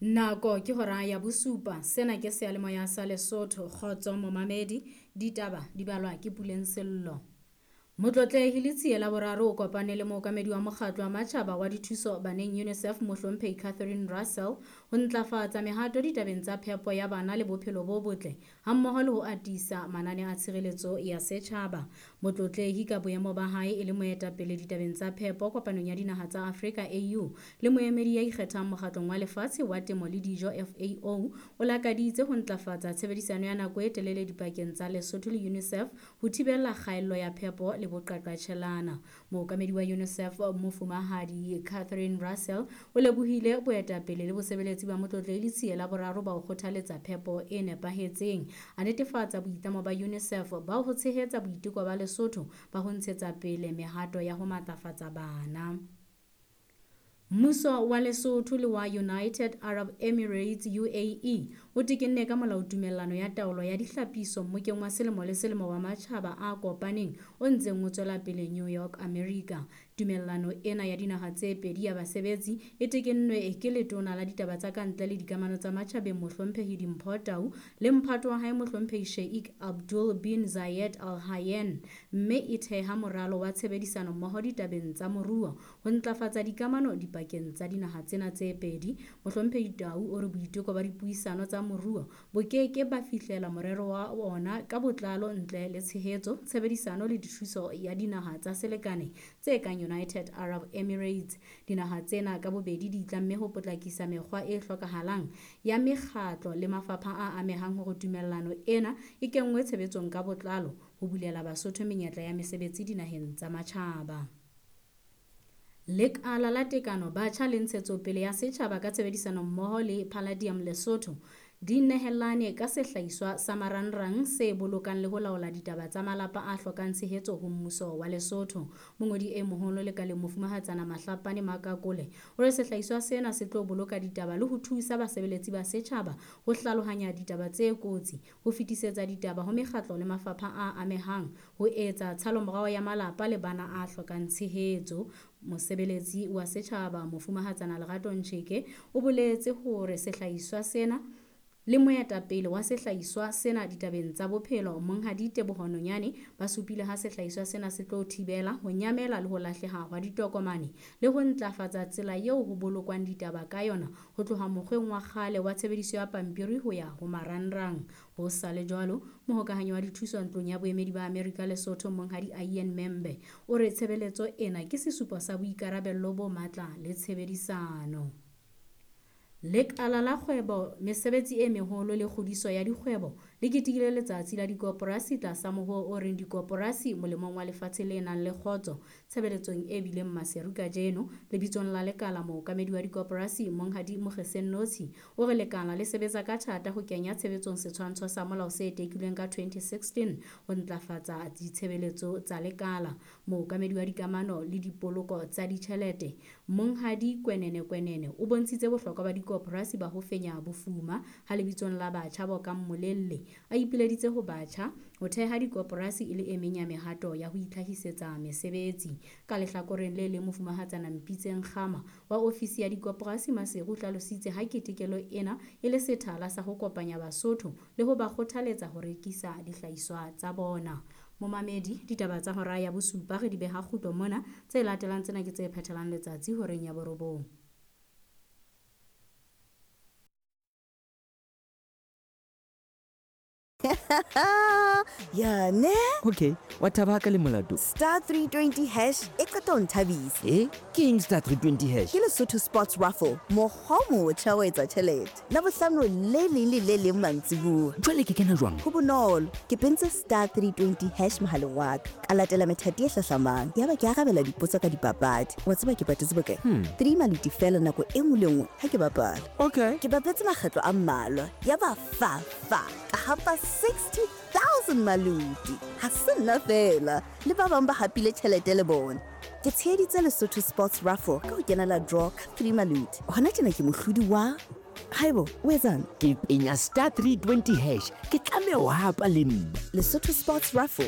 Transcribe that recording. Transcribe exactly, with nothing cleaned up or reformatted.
Nako ke hora ya bosupa. Sena ke seyalemoya sa Lesotho. Kgotso momamedi, ditaba di balwa ke Puleng Sello. Motlotlehi Letsie la boraro o kopane le mookamedi wa mokgatlo wa matjhaba wa dithuso baneng UNICEF Mohlomphehi Catherine Russell ho ntlafatsa mehato ditabeng tsa phepo ya bana le bophelo bo botle hammoho le ho atisa manane a tshireletso ya setjhaba. Motlotlehi ka boemo ba hae e le moetapele ditabeng tsa phepo kopanong ya dinaha tsa Afrika A U le moemedi ya ikgethang mokgatlong wa lefatshe wa temo le dijo F A O o lakaditse ho ntlafatsa tshebedisano ya nako e telele dipakeng tsa Lesotho le UNICEF ho thibela kgaello ya phepo le boqaqatjhelana. Mookamedi wa UNICEF Mofumahadi Catherine Russell o lebohile boetapele le bosebeletsi ba Motlotlehi Letsie la boraro ba ho kgothaletsa phepo e nepahetseng. A netefatsa boitlamo ba UNICEF ba ho tshehetsa boiteko ba Lesotho ba ho ntshetsa pele mehato ya ho matlafatsa bana. Mmuso wa Lesotho le wa United Arab Emirates U A E o tekenne ka molao tumellano ya taolo ya dihlapiso mmokeng wa selemo le selemo wa matjhaba a kopaneng o ntseng o tswela pele New York, America. Tumellano ena ya dinaha tse pedi ya basebetsi e tekennwe ke letona la ditaba tsa kantle le dikamano tsa matjhabeng Mohlomphehi Dimpho Tau le mphato wa hae Mohlomphehi Sheikh Abdul bin Zayed Al Nahyan, mme e theha moralo wa tshebedisano mmoho ditabeng tsa moruo ho ntlafatsa dikamano dipakeng tsa dinaha tsena tse pedi. Mohlomphehi Tau o re boiteko ba dipuisano tsa moruo bo ke ke ba fihlela morero wa ona ka botlalo ntle le tshehetso, tshebedisano le dithuso ya dinaha tsa selekane tse kang United Arab Emirates. Dinaha tsena ka bobedi di itlamme ho potlakisa mekgwa e hlokahalang ya mekgatlo le mafapha a amehang hore tumellano ena e kenngwe tshebetsong ka botlalo ho bulela Basotho menyetla ya mesebetsi dinaheng tsa matjhaba. Lekala la tekano batjha le ntshetsopele ya setjhaba ka tshebedisano mmoho le Palladium Lesotho di nehelane ka sehlahiswa sa marangrang se bolokang le ho laola ditaba tsa malapa a hlokang tshehetso ho mmuso wa Lesotho. Mongodi e moholo lekaleng Mofumahatsana Mahlapane Makakole o re sehlahiswa sena se tlo boloka ditaba le ho thusa basebeletsi ba setjhaba ho hlalohanya ditaba tse kotsi, ho fetisetsa ditaba ho mekgatlo le mafapha a amehang, ho etsa tshalomorao ya malapa le bana a hlokang tshehetso. Mosebeletsi wa setjhaba Mofumahatsana Lerato Ntjheke o boletse hore sehlahiswa sena le moetapele wa sehlahiswa sena ditabeng tsa bophelo Monghadi Teboho Nonyane ba supile ha sehlahiswa sena se tlo thibela ho nyamela le ho lahleha hwa ditokomane le ho ntlafatsa tsela eo ho bolokwang ditaba ka yona ho tloha mokgweng wa kgale wa tshebediso ya pampiri ho ya ho marangrang. Ho sa le jwalo, mohokahanyi wa dithuso ntlong ya boemedi ba Amerika Lesotho Monghadi Ian Membe o re tshebeletso ena ke sesupo sa boikarabello bo matla le tshebedisano. Lekala la kgwebo, mesebetsi e meholo le kgodiso ya dikgwebo le ketekile letsatsi la dikoporasi tlasa mohoo o reng dikoporasi molemong wa lefatshe le nang le kgotso. Tshebeletsong e bileng Maseru kajeno, lebitsong la lekala mookamedi wa dikoporasi Monghadi Mogeseng Notsi o re lekala le sebetsa ka thata ho kenya tshebetsong setshwantsho sa molao se tekilweng ka twenty sixteen ho ntlafatsa ditshebeletso tsa lekala. Mookamedi wa dikamano le dipoloko tsa ditjhelete Monghadi Kwenene Kwenene o bontshitse bohlokwa ba dikoporasi ba ho fenya bofuma ha lebitsong la batjha bo kang Molelle a ipileditse ho batjha ho theha dikoporasi e le e meng ya mehato ya ho itlhahisetsa mesebetsi. Ka lehlakoreng le leng Mofumahatsana Mpitseng Kgama wa ofisi ya dikoporasi Maseru o hlalositse ha ketekelo ena e le sethala sa ho kopanya Basotho le ho ba kgothaletsa ho rekisa dihlahiswa tsa bona. Momamedi, ditaba tsa hora ya bosupa re di beha kgutlo mona, tse latelang tsena ke tse phethelang letsatsi horeng ya borobong. Ya ne? Okay, wa thaba ka le molato. Star three twenty hash e qeta ho nthabisa. Eh? Ke eng star three twenty hash? Ke Lesotho Sports Raffle, mokgwa o motjha wa etsa tjhelete. Labohlano le leng le le leng mantsibuya. Jwale ke kena jwang? Ho bonolo, ke pentse star three twenty hash mohaleng wa ka. Ka latela methati e hlahlamang. Yaba ke arabela dipotso ka dipapadi. Wa tseba ke patetse bokae? Hmm. Three maluti fela nako e nngwe le nngwe ha ke bapala. Okay. Ke bapetse makgetlo a mmalwa. Yaba fa fa ka hapa sixty thousand maluti. Ha se nna fela, le ba bang ba hapile tjhelete le bona. Ke tsheheditse Lesotho Sports Raffle ka ho kenela draw ka three maluti. Hona tjena ke mohlodi wa Haibo, o etsang? Ke penya star three twenty hash. Ke tlameha ho hapa le nna. Lesotho Sports Raffle.